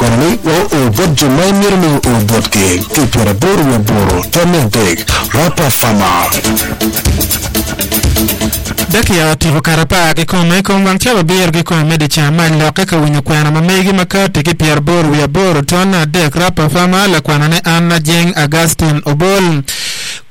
Kwenani wa oo bot jo ma imito ni oo botgi ki i 88 tammi adek Rapper Farmer. Dakika otyeko kare apar kikome i kom wang cawa abiro kikome me dyeceng mac lokke ka winyo kwena ma megi ma kati ki 88 tonne adek Rapper Farmer lakwanane Anna Jeng Augustine Obol.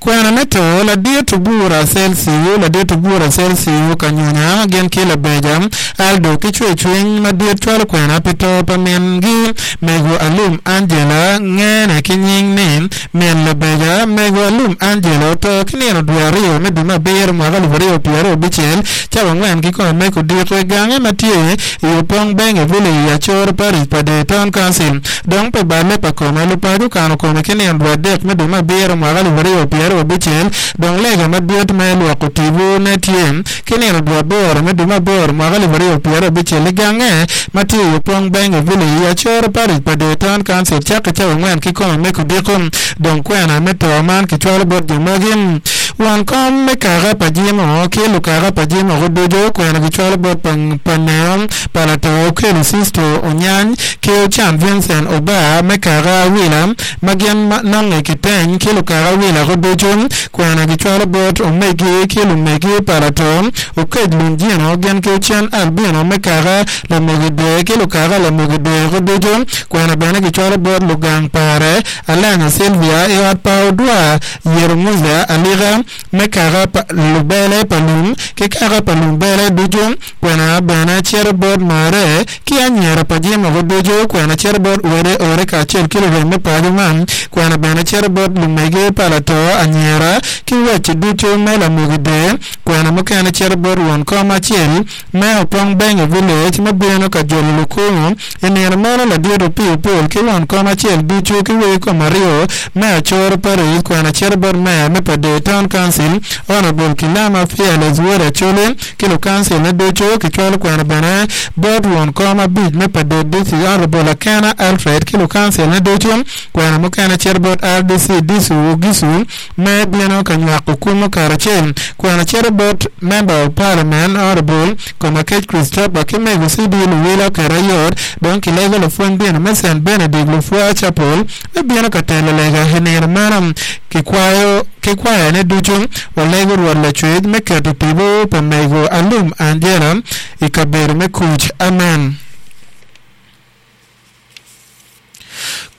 Kwena me to, Ladit Obura Celsiu, Ladit Obura Celsiu Kanyunya gin ki Labeja Aldo ki cwercwiny madit cwalo kwena pi to pa mingi Mego Alum Angela ngene ki nying ni Min Labeja. Mego Alum Angela oto ki nino dwe aryo me dwe me abiro mwaka 2026 cawa angwen ki kome me kudiko i gange ma tye i Opong Benge Village i Acoro Parish pa Dee Town Council. Dong pi balle pa kome, lupaco okano kome ki nino dwe adek me dwe me abiro mwaka 2026, dong lega madit me lwoko tipo ne tye ki nino dwe aboro me dwe me aboro mwaka 2026 i gange ma tye i Opong Benge Village i Acoro Parish pa Dee Town Council cakke cawa angwen ki kome me kudiko. Dong kwena me to man kicwalo bot jo magi, Won kom me kaka pa Jimo ki lukaka pa Jimo guducu kwena gicwalo bot pa Neo pa lato Okello Sisto Onyany ki Ocan Vincent Obar me kaka Awila ma gin nonge kiteny ki lukaka Awila guducu kwena gicwalo bot omegi ki lumegi pa lato Okec Lunjino gin ki Ocen Albino me kaka Lamogi Dwe ki lukaka Lamogi Dwe guducu kwena bene gicwalo bot lugang pare Alanya Sylvia i ot pa Odwa Yero Musa Alika me kaka pa lubele pa lum ki kaka pa lumbele ducu, kwena bene cito bot marre ki anyira pa jemo-gu ducu, kwena cito bot wede ore kacel ki lurem me paco man, kwena bene cito bot lumege pa lato anyira ki wacci ducu me lamogi dee, kwena mukene cito bot won kom acel me Opong Benge Village me bino ka jolo lukungu i nino meno ladit Opiyo Paul ki won kom acel ducu ki wegi kom aryo me Acoro Parish kwena cito bot Meya me Pader Town Council Honourable Kilama Fearless Wod Acholi ki lukancil ne ducu kicwalo kwena bene bot won kom abic me Pader District Honourable Akena Alfred ki lukancil ne ducu kwena mukene cito bot RDC Disu Ogisu me bino ka nywako kumo karacel. Kwena cito bot Member of Parliament Honourable Komakech Christopher ki mego CD Luwila oketo ayot dong kilego lapwony dini me Saint Benedict Lupwa Chapel me bino ka telo lega i nino meno. Kikwayo ki kwayone ducu walego Rwot Lacwec me keto tipo pa mego Alum Angela i kabedo me kuc. Amen.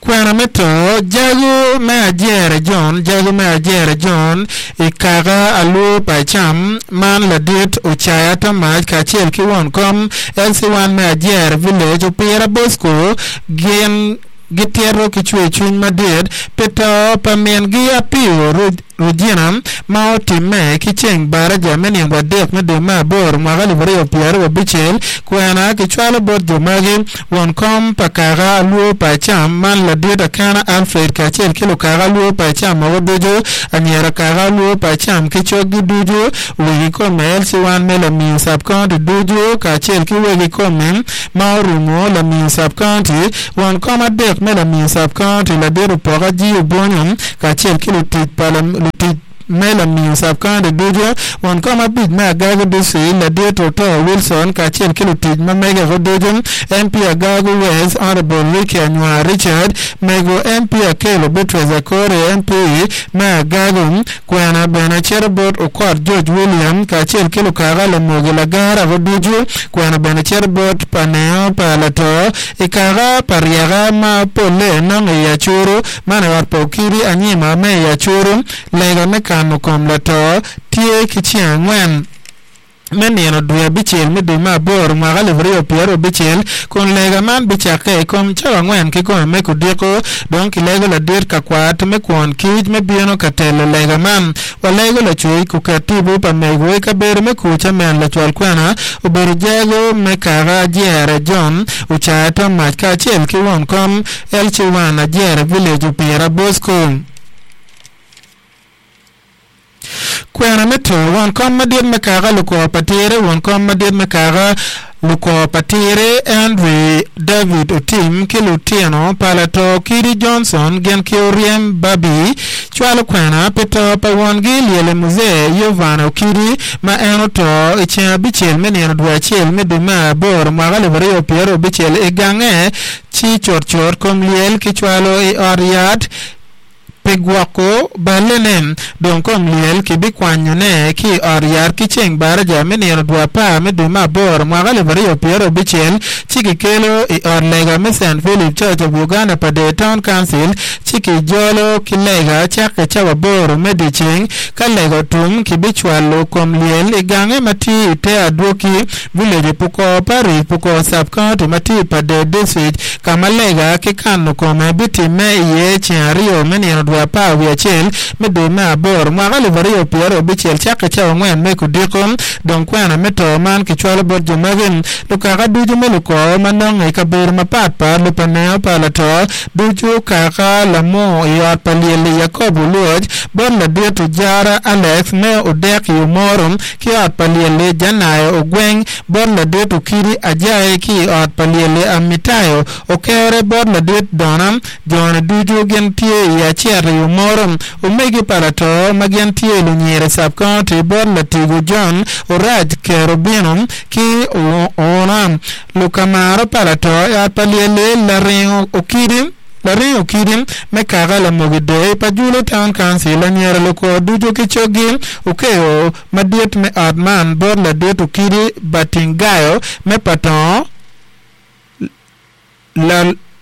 Kwena me to, Jago me Ajere John, Jago me Ajere John, i kaka alwo pa Ecam man ladit Ocaya Tomac kacel ki won kom LC1 me Ajere Village Opira Bosco gin gitito ki cwercwiny madit pi to pa mingi Apio Regina ma otimme ki ceng baraja me nino adek me dwe me aboro mwaka 2026, kwena kicwalo bot jo magi, Won kom pa kaka alwo pa Acam man ladit Akena Alfred kacel ki lukaka alwo pa Acam mogo ducu, anyira kaka alwo pa Acam ki coggi ducu, wegi kome LC1 me Lamio Sub-County ducu kacel ki wegi kome ma orumo Lamio Sub-County, Won kom adek me Lamio Sub-County ladit Opoka G. Obonyo kacel ki lutic pa lutic me Lamio Sub-County ducu, won kom abic me Agago District ladit Oto Wilson kacel ki lutic ma mege-gu ducu, MP Agago West Honourable Ricky Anywar Richard, mego MP Akello Beatrice Akore MP me Agago, Kwena bene cito bot Okot George William kacel ki lukaka Lamogi Lagara-gu ducu, kwena bene cito bot pa Neo pa Lato i kaka pa Ryeka ma polle nongo i Acuru, man i ot pa Okidi Anyima me i Acuru. Lega me kano kom lato tye ki ceng angwen me nino dwe abicel me dwe me aboro mwaka 2026, kun lega man bicakke i kom cawa angwen kikome me kudiko. Dong kilego ladit ka kwat me kwon kic me bino ka telo lega man. Walego Lacwec kuket tipo pa mego i kabedo me kuc amen lacwal kwena obedo jago me kaka Ajere John Ocaya Tomac kacel ki won kom LC1 Ajere Village Opira Bosco. Kwena me to, Won kom madit me kaka lukwo pa tire, won kom madit me kaka. Lukor pa Tiri, Henry David Otim ki lutino pa lato Kidi Johnson gin ki Oryem Babi cwalo kwena pi to pa wongi Lyele Muzee Yovan Okidi ma en oto i ceng abicel me nino dwe acel me dwe me aboro mwaka 2026 i gange ci cutcut kom lyel kicwalo i ot yat Pi gwoko ballene, dong kom lyel kibikwanyone ki i ot yat ki ceng baraja me nino dwe apar me dwe me aboro mwaka 2026 ci kikelo i ot lega me Saint Philip Church of Uganda Pader Town Council ci kijolo ki lega cakke cawa aboro me dyeceng. Ka lega otum, kibicwalo kom lyel i gange ma tye i te adwoki Village i Pukor Parish, Pukor Sub-County ma tye i Pader District, ka ma lega ki kano kome bitimme iye ceng aryo me nino dwe apar wiye acel me dwe me aboro mwaka 2026 cakke cawa angwen me kudiko. Dong kwena me to man kicwalo bot jo magi, lukaka ducu me lukor ma nonge i kabedo mapat pat, lupaneo pa lato ducu, kaka lamur i ot pa lyelli Yakobo Lwoc, bot ladit Ojara Alex me Odek i Omoro, ki ot pa lyelli Janayo ogweng bot ladit Okidi Ajayi ki i ot pa lyelli Amitayo okere bot ladit Dona, jone ducu gin tye i Acet i Omoro. Omegi pa lato ma gin tye lunyira i Sub-County bot Latigo John Orac Kerobino ki Oona Lukamaro pa lato i ot pa lyelli Laringo Okidi. Laringo kidi me kaka lamogi dee pa Julu Town Council anyira lukor ducu ki coggi okeyo madit me ot man bot ladit Okidi Batingayo me Patongo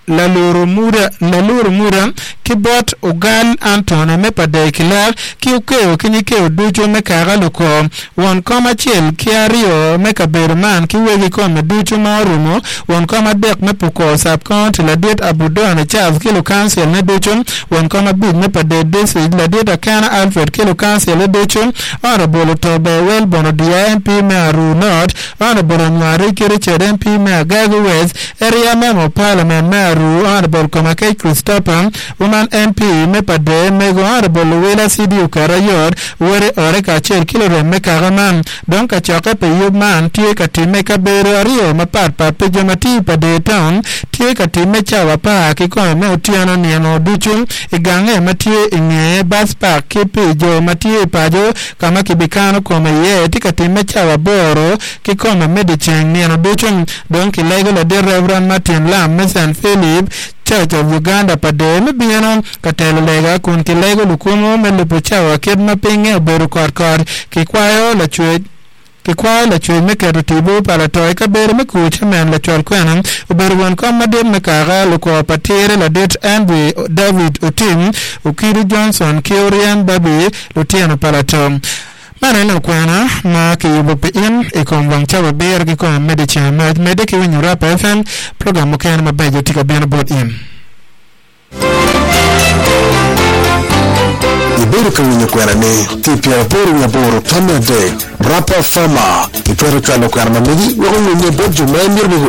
Laluru Muda ki bot Ogal Anthony me Padee Kilak ki okeyo ki nyikeyo ducu me kaka lukor Won kom acel ki aryo me kabedo man ki wegi kome ducu ma orumo, won kom adek me Pukor Sub-County, Ladit Abudone Charles ki lukancil ne ducu, won kom abic me Pader District, Ladit Akena Alfred ki lukancil ne ducu, Honourable Otobe Welborn Odiya MP me Aruu North, Honourable Onywari ki Richard MP me Agago West, Area Member of Parliament me Aruu, Honourable Komakech Christopher, Woman MP me Pader, Mego Honourable Luwila CD oketo ayot, Wode ore kacel ki lurem me kaka man. Dong kacokke pi yub man tye ka timme i kabedo aryo mapat pat pi jo ma tye i Pader Town tye ka timme cawa apar ki kome me otyeno nino ducu i gange ma tye i nge bus park ki pi jo ma tye i paco ka ma kibikano kome iye tye ka timme cawa aboro ki kome me dyeceng nino ducu. Dong kilego ladit Rev. Martin Lam me St. Philip Church of Uganda Pader me bino ka telo lega kun kilego lukumo me lubo cawa kit ma pinye obedo kotkot. Kikwayo lacwec Kikwayo lacwec me keto tipo pa lato i kabedo me kuc. Amen Lacwal kwena obedo won kom madit me kaka lukor pa tire ladit Henry David Otim, Okidi Johnson ki Oryem Babi lutino pa lato. Man aye lok kwena ma kiyubo pi in i kom wang cawa abiro ki kome me dyeceng mac. Medde ki winyo Rapa FM, program mukene mabeco tye ka bino bot in. Ibedo ka winyo kwena ni ki i pyeraboro wiye aboro tamme adek, Rapa Farmer. Itwero cwalo kwena ma megi wek owinye bot jo ma imito ni guo.